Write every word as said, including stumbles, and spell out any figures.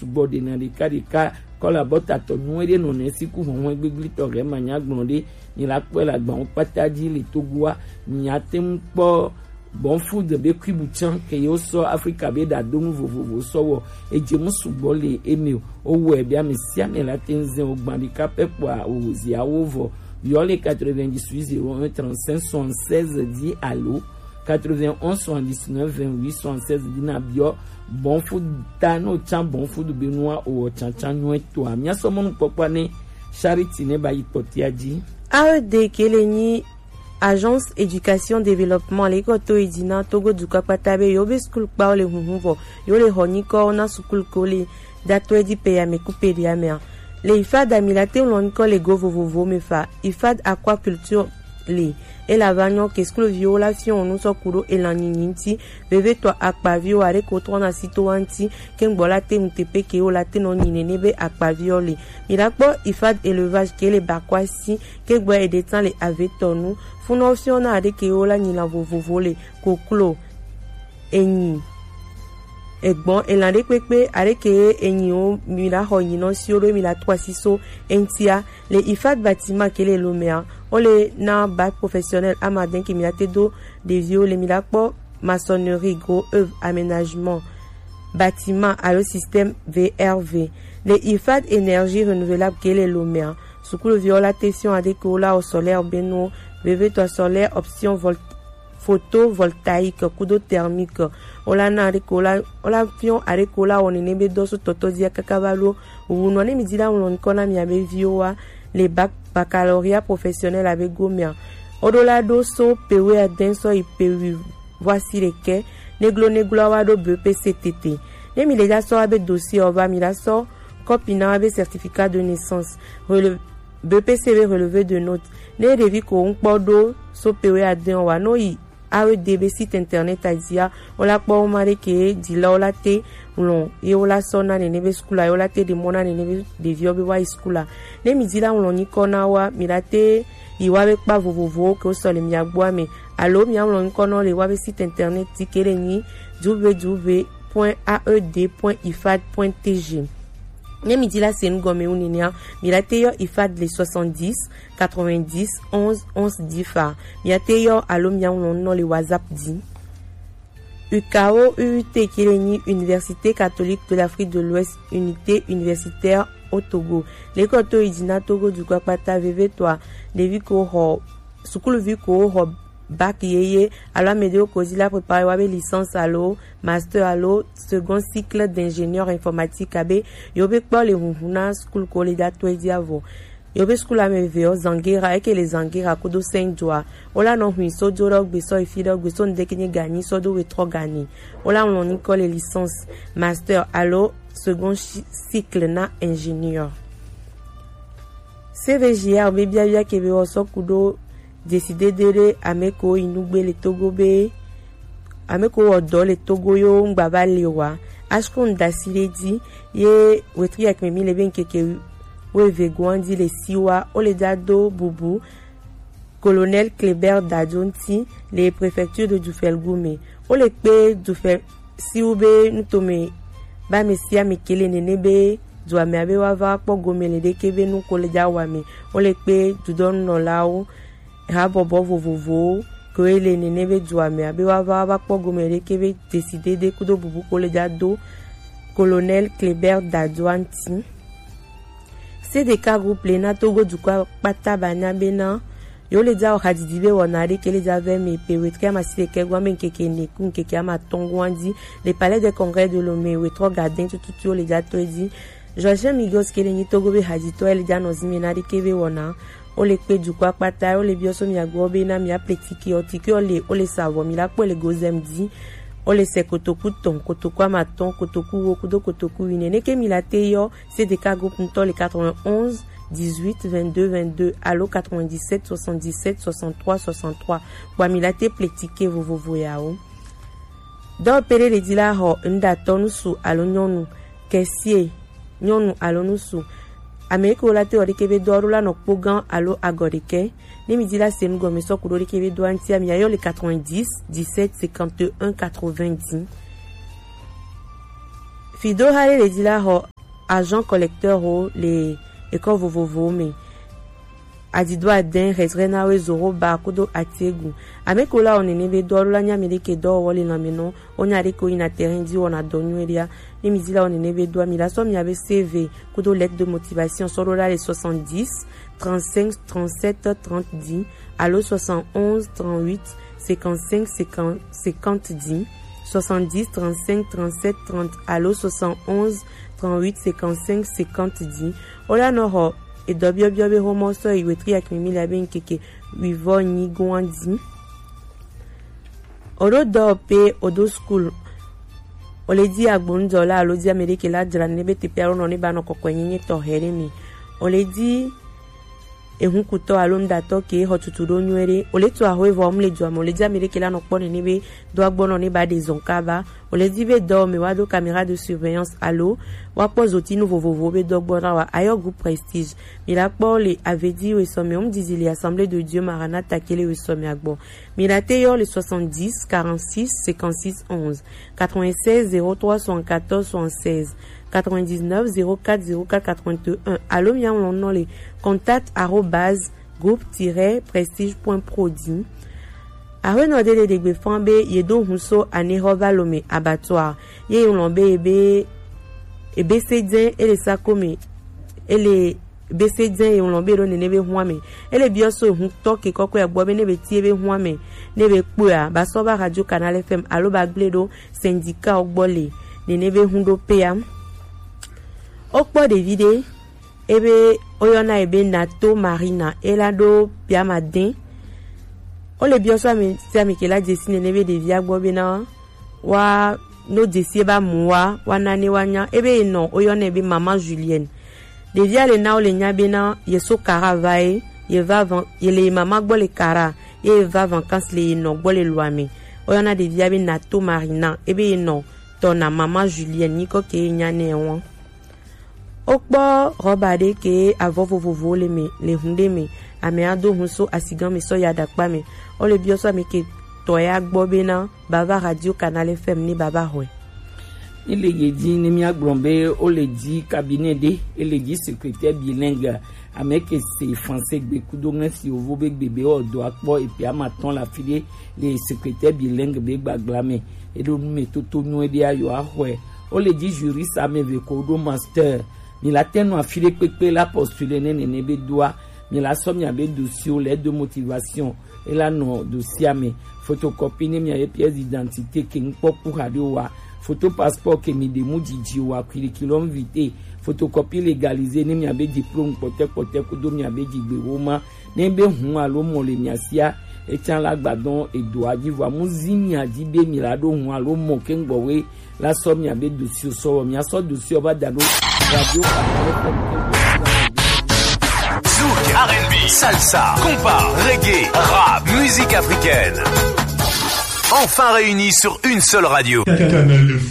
gbɔ ɖena ɖeka ɖeka. Kɔla bɔ tatɔ nu eɖe nɔ ne siku hɔnhɔn gbegblitɔ ɖe ma nya gblɔ ɖe. Ni la kpɔe la gbawo kpata dzi le Togoa. Ni ate ŋu kpɔ Bon Food be kuibu tsã ke yewo sɔ Afrika be ɖadonu vovovo sɔ wɔ. Edze mu sugbɔ le eme o. Wowɔe be ame sia ame la te ŋu zɛ wo gbã ɖeka pɛ kpɔa woziawo vɔ. Yɔ le quatre-vingt-dix-huit zéro un trente-cinq soixante-seize dix alo quatre-vingt-onze soixante-dix-neuf vingt-huit soixante-seize dina biɔ Bon Food ta no tsa Bon Food be nua o tsantsan nyuɛ toa. Mia sɔ mɔnu kpɔkpɔ ne Charity ne ba yi kpɔtia dzi. A E D kele nyi Agence Éducation Développement le kɔto yi dzi na Togo dukɔ kpata be yo be school kpawo le hunhun vɔ yo le xɔ nyikɔ na school ko le datɔe di pe ya me ku pe de ya me a. Le ifad a mi la te ŋlɔ nyikɔ le go vovovo me fa. Ifad aquaculture le. E la va nyɔ ke skloviwo la fiɔ nu sɔ ku ɖo elan nyinyi ŋti. Vevetɔ akpaviwo aɖe ko trɔ na si to wa ŋti. Ke ŋgbɔ la te ŋu te pe ke wo la te nɔ nyi nene be akpaviwo le. Mi la kpɔ ifad élevage ke le bakwa si. Ke gbɔ eɖe tsan le avetɔ nu. Funɔ fiɔ na aɖe ke wo la nyi lan vovovo le. Koklo. Enyi. Egbɔn elan ɖe kpekpe aɖe ke enyi wo mi la xɔ nyi nɔ si wo ɖo mi la to asi so eŋtia. Le ifad bâtiment ke le lo mea, wo le na bac professionnel ama den ke mi la te do ɖeviwo le mi la kpɔ maçonnerie, gros œuvre, aménagement, bâtiment alo système V R V. Le ifad énergie renouvelable ke le lo mea, sukuluviwo la te fiɔ aɖe ke wo la o solaire be no, vevetɔ solaire option vol photovoltaïque kudo thermique. Wo la na aɖe ke wo la wo la fiɔ aɖe ke wo la wɔ nene be dɔ so tɔtɔ dia kaka va lo. Wu nɔ ne mi di la ŋlɔ ŋkɔ na mia be viwo wa le bac baccalauréat professionnel abe gomea. Wo ɖo la ɖo so pe we aden sɔ yi pe wi voici ɖekɛ. Neglo neglo wa ɖo B P C tete. Ne mi le ja sɔ wa be dossier o va mi la sɔ kɔpi na wa be certificat de naissance. Relevé B P C be relevé de note. Ne ɖevi ko ŋkpɔ ɖo so pe we aden wa no yi A E D be site internet a dzia, wo la kpɔ wo ma ɖe ke dzi la wo la te ŋlɔ ye wo la sɔ na nene be skul a ye wo la te ɖe mɔ na nene be ɖeviwo be wa yi skul a. Ne mi dzi la ŋlɔ nyikɔ na wa mi la te yi wa be kpa vovovowo ke wo sɔ le mia gbɔ a me alo mia ŋlɔ nyikɔ na wo le wa be site internet ti ke ɖe nyi w w w point a e d point ifad point t g. Ne mi dzi la se nu gɔme wu nenea, mi la te yɔ ifad le soixante-dix quatre-vingt-dix onze onze dix fa. Mia te yɔ alo mia ŋlɔ nu nɔ le WhatsApp dzi. U K O U U T ke le nyi Université Catholique de l'Afrique de l'Ouest, unité universitaire au Togo. Lekɔ to yi dzi na Togo dukɔ kpata vevetɔa, ɖevi ko xɔ sukuluvi ko xɔ bac yeye alo ame ɖewo ko dzi la préparer wa be licence alo master alo second cycle d'ingénieur informatique abe yewo be kpɔ le hunhun na sukulu ko le da to edzi avɔ. Yewo be sukulu ame eve ɔ Zangera eke le Zangera kudo Saint Joa. Wo la nɔ hui so jo ɖe gbe sɔ yi fi ɖe gbe so ŋde ke nye ganyi sɔ do wetrɔ ganyi. Wo la ŋlɔ nyikɔ le licence, master alo second chi- cycle na ingénieur. C V G R be biabia ke be wɔ sɔ ku ɖo dzesi dede ɖe ame ko yi nugbe le Togo be ame ko wɔ dɔ le Togo yo ŋgba va le wa. Ashkun dasi ɖe dzi ye wetri akme mi le be ŋkeke wo eve goan dzi le siwa wo le da do bubu Colonel Kléber Dadio ŋti le préfecture de Dufel Gume. Wo le kpe Dufel siwu be nutome ba ame sia ame ke le nene be dua me abe wa va kpɔ gome le ɖeke be nu ko le ja wa me. Wo le kpe dudɔnunɔlawo habɔbɔ vovovowo ke le nene be dua me abe wa va va kpɔ gome le ɖeke be dzesi dede kudo bubu ko le ja do Colonel Kléber Dadio ŋti. C D K groupe le na Togo dukɔ kpata ba nya be na yo le ja o hadidi be wɔna ɖe ke le ja vɛ me pe wetri amasi ɖekɛ gɔn be ŋkeke ne ku ŋkeke ama tɔn gɔn dzi le Palais des Congrès de Lomé wetrɔ gadin tututu le ja to dzi. Joachim Migos ke le nyi Togo be haditɔ le ja nɔ zime na ɖe ke be wɔna wo le kpe dukɔ kpata wo le biɔ so mia gbɔ be na mia ple tiki o tiki o le wo le sa vɔ mi la kpɔ le gozem dzi. Wo le se kotoku tɔn, kotoku ama tɔn, kotoku wo kudo kotoku wine ne ke mi la te yɔ C D K groupe ŋutɔ le quatre-vingt-onze dix-huit vingt-deux vingt-deux alo quatre-vingt-dix-sept soixante-dix-sept soixante-trois soixante-trois. Kpɔ mi la te ple tike vovovo yawo. Dɔwɔƒe ɖe le dzi la xɔ ŋɖatɔ ŋutsu alo nyɔnu, kesie nyɔnu alo ŋutsu. Ame yi ke wo la te wɔ ɖeke be dɔ ɖo la nɔ kpo gã alo agɔ ɖeke. Ne mi dzi la se nu gɔme sɔ ku ɖo ɖeke be dɔa ŋutia mi ayɔ le quatre-vingt-dix dix-sept cinquante et un quatre-vingt-dix. Fido ha ɖe le dzi la xɔ agent collecteur wo le école vovovowo me. Adido adɛn, retrait na we zoro ba kudo atiegu. Ame ko la o nene be do alo la nya mi ɖeke dɔwɔwɔ le lanme nɔ, o nya ɖeke o yina terrain di wɔna dɔ nyuie ɖea. Ne mi di la o nene be do a, mi la sɔ mi abe C V kudo lettre de motivation sɔ ɖo la le soixante-dix, trente-cinq, trente-sept, trente dix, alo soixante-onze, trente-huit, cinquante-cinq, cinquante, cinquante dix, soixante-dix, trente-cinq, trente-sept, trente, alo soixante-onze, trente-huit, cinquante-cinq, cinquante dix. O la nɔ xɔ edɔ biɔbiɔ be xomɔ sɔ yi wetri akimi mi la be ŋkeke wivɔ nyi goan di. O ɖo dɔ pe o do school. O le di agbonudɔla alo di ame ɖeke la dzra ne be teƒe alo nɔ ne ba nɔ kɔkɔe nyenye tɔxɛ ɖe mi. O le di ehunkutɔ alo nuɖatɔ ke xɔ tutu ɖo nyuie ɖe. O le to axwe vɔ mu le dua me. O le di ame ɖeke la nɔ kpɔ nene be do agbɔnɔ ne ba ɖe zɔn kaba. O le di be dɔ me wa do caméra de surveillance alo wa kpɔ zotinu vovovo be dɔ gbɔ na wa. Ayɔ groupe Prestige. Mi la kpɔ le avedi wesɔme. O mu didi le Assemblée de Dieu Maranatha ke le wesɔme agbɔ. Mi la te yɔ le soixante-dix, quarante-six, cinquante-six, onze, quatre-vingt-seize, zéro trois, soixante-quatorze, soixante-seize, quatre-vingt-dix-neuf, zéro quatre, zéro quatre, quatre-vingt-un. Alo mi aŋlɔ nɔ le contact arobase groupe tiret prestige point pro di. Aƒenɔ ɖe le ɖegbe fɔn be ye do hun so anexɔ va lo me abattoir. Ye ŋlɔ be ebe ebe se dze ele sako me ele be se dze ye ŋlɔ be ɖo nene be hua me. Ele biɔ so ehuntɔ ke kɔkɔe gbɔ be ne be tie be hua me ne be kpɔa ba sɔ va Radio Canal F M alo ba gble ɖo syndicat wo gbɔ le nene be hun ɖo pea. Wokpɔ ɖevi ɖe ebe woyɔna ye be Nato Marina, ela ɖo piama dẽ. Wole biɔ so ame sia ame ke la dzesi nene be ɖevia gbɔ bena wa no dzesi ebe amu wa wa nane wa nya ebe ye nɔ woyɔna ye be mama Julienne. Ɖevia le na wole nya bena ye so Kara va ye ye va van ye le ye mama gbɔ le Kara ye ye va vacances le ye nɔ gbɔ le loa me. Woyɔna ɖevia be Nato Marina ebe ye nɔ tɔ na mama Julienne nyikɔ ke ye nya nɛ wɔn. Wokpɔ rɔba ɖe ke avɔ vovovowo le me le hun ɖe me. Amea do hun so asigã me sɔ ya ɖakpa me. Wole biɔ so ame ke tɔ ya gbɔ bena bava Radio Canal F M ne bava xɔe. Ele ye dzi ne míagblɔ be wole dzi cabinet ɖe, ele dzi secrétaire bilingue, ame ke se français gbe kudo ŋlesi yovo be gbe be wɔ dɔ akpɔ epe ama tɔn le afi ɖe le secrétaire bilingue be gbagla me. Eɖo nu me toto nyuie ɖe ayɔ axɔe. Wole dzi juriste ame eve ko ɖo master. Mi la te nɔ afi ɖe kpekpe la postuler ne nene be doa. Mi la sɔ mia be dossier le de motivation. Ela nɔ dossier me. Photocopie ne mia ye pièce d'identité ke ŋkpɔ ku xa ɖe wa. Photo passeport ke mi ɖe mu dzidzi wa, curriculum vitae. Photocopie légalisé ne mia be diplôme kpɔtɛ kpɔtɛ kudo mia be dzigbe wo ma. Ne be hun alo mɔ le mia sia, etsa la gbadɔn edo adzi vɔ amu zi mia dzi be mi la ɖo hun alo mɔ ke ŋgbɔwe la sɔ mia be dossier sɔ wɔ mia sɔ dossier va da ɖo radio. Zouk, R and B, salsa, compas, reggae, rap, musique africaine. Enfin réunis sur une seule radio. Canal F